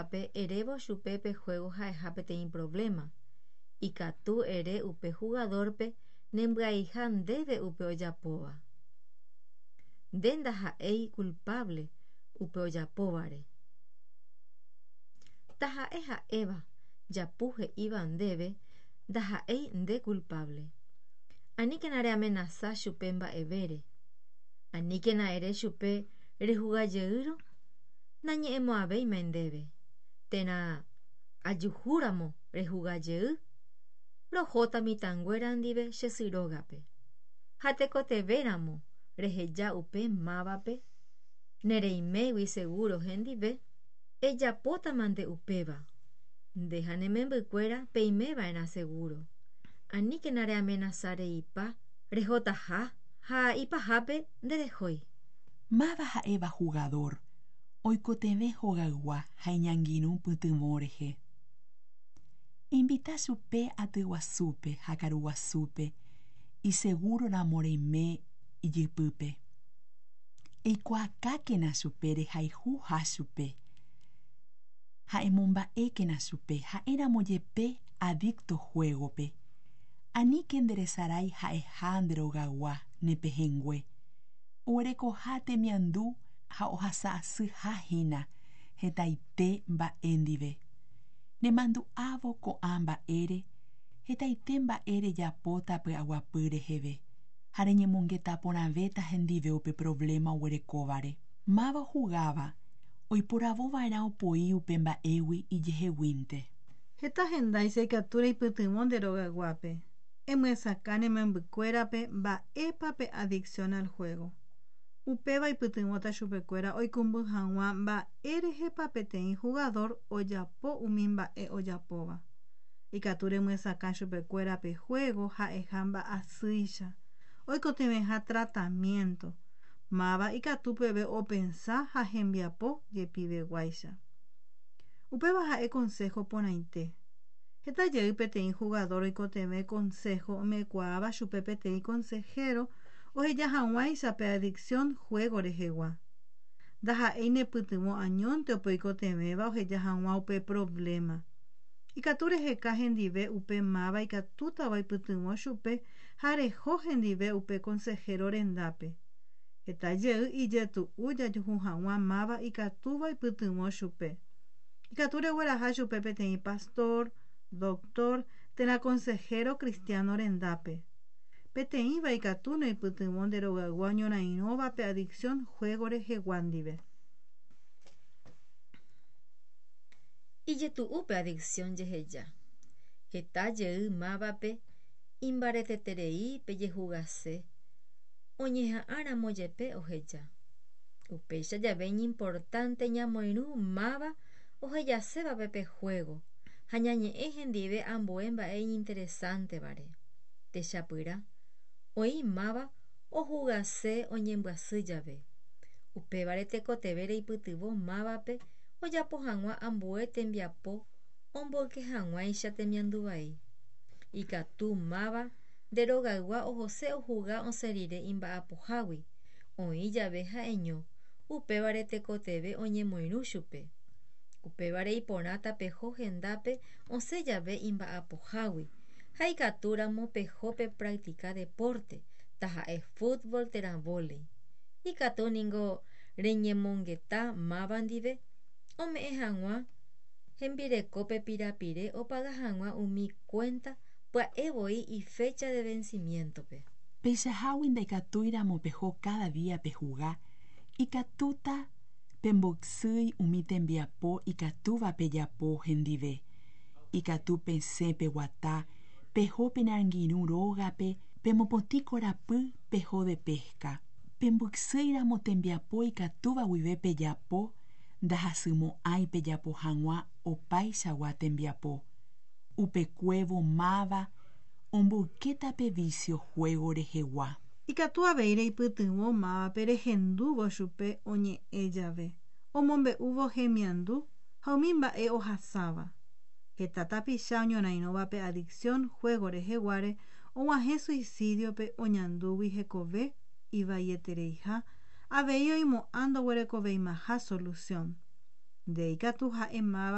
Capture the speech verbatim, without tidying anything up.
mávape erévo chupe pe juego ha'eha peteĩ problema. Ikatu ere upe jugador-pe nembyaiha ndéve upe ojapóva. Nde ndaha'éi culpable upe ojapóvare. Taha'e ha'éva japu he'íva ndéve ndaha'éi nde culpable. Aníkena reamenasa chupe mba'evére. Aníkena ere chupe rehugajeýrõ nañe'ẽmo'ãvéima ndéve. Térã ajuhúramo rehugajey rohóta mitãnguéra ndive che sy rógape. Ha tekotevẽramo reheja upe mávape nereimégui seguro hendive ejapótamante upéva. Nde ha ne membykuéra peimeva'erã seguro. Aníkena reamenasa reipa rehotaha ha ipahápe nderehói. Máva ha'éva jugador oikotevẽ hogaygua ha iñangirũ pytyvõ rehe. Einvita chupe aty guasúpe ha karu guasúpe isegúroramo reime ijypýpe. Eikuaakákena chupe rehayhuha chupe ha emomba'ékena chupe ha'éramo jepe adicto juego-pe. Aníke nderesarái ha'eha nde rogaygua ne pehẽngue. Oguerekoha temiandu ha ohasa'asyhahína hetaite mba'e ndive. Nemandu'ávo ko'ã mba'ére hetaite mba'e rejapóta py'aguapy reheve ha reñemongeta porãvéta hendive upe problema oguerekóvare. Máva ohugáva oiporavova'erã opoi upe mba'égui ijeheguínte. Heta hendáicha ikatu reipytyvõ nde rogayguápe. Emyesakã ne membykuérape mba'épa pe adicción al juego. Upéva ipytyvõta chupekuéra oikũmby hag̃ua mba'érehepa peteĩ jugador ojapo umi mba'e ojapóva. Ikatu remyesakã chupekuéra pe juego ha'eha mba'asýicha oikotevẽha tratamiento. Máva ikatu peve opensa ha hembiapo jepiveguáicha. Upéva ha'e consejo porãite. Heta jey peteĩ jugador oikotevẽ consejo omekuaáva chupe peteĩ consejero oheja hag̃uáicha pe adicción juego rehegua. Ndaha'éi nepytyvõ añónte upe oikotevẽva oheja hag̃ua upe problema. Ikatu reheka hendive upe máva ikatútava oipytyvõ chupe ha reho hendive upe consejero rendápe. Heta jey ijetu'u jajuhu hag̃ua máva ikatúva oipytyvõ chupe. Ikatu regueraha chupe peteĩ pastor, doctor térã consejero cristiano rendápe. Peteĩva ikatu noipytyvõ nde rogaygua oñorairõva pe adicción juego rehegua ndive. Ijetu'u pe adicción jeheja. Heta jey mávape imbareteterei pe jehugase oñeha'ãramo jepe oheja. Upéicha jave iñimportante ñamoirũ máva ohejasévape pe juego ha ñañe'ẽ hendive ambue mba'e iñinteresántevare. Techapyrã oĩ máva ohugase oñembyasy jave. Upévare tekotevẽ reipytyvõ mávape ojapo hag̃ua ambue tembiapo omboyke hag̃uáicha temiandu vai. Ikatu máva nde rogaygua ohose ohuga osẽ rire imba'apohágui oĩ jave ha'eño upévare tekotevẽ oñemoirũ chupe. Upévare iporãta peho hendápe osẽ jave imba'apohágui ha ikatúramo peho pepractica deporte taha'e fútbol térã vóley. Ikatu ningo reñemongeta máva ndive ome'ẽ hag̃ua hembirekópe pirapire opaga hag̃ua umi cuenta pya'evoi ifecha de vencimiento-pe. Peichahágui ndaikatúiramo peho cada día pehuga ikatúta pemboysýi umi tembiapo ikatúva pejapo hendive. Ikatu pesẽ peguata peho pene angirũ rógape pemopotĩ korapy peho de pesca. Pemboysýiramo tembiapo ikatúva guive pejapo ndahasymo'ãi pejapo hag̃ua opaichagua tembiapo. Upekuévo máva omboykéta pe vicio juego rehegua. Ikatu avei reipytyvõ mávape rehendúvo chupe oñe'ẽ jave, omombe'úvo hemiandu ha umi mba'e ohasáva. Heta tapicha oñorairõva pe adicción juego reheguáre og̃uahẽ suicidio-pe oñandúgui hekove ivaietereiha avei oimo'ã ndoguerekoveimaha solución. Nde ikatu ha'e máva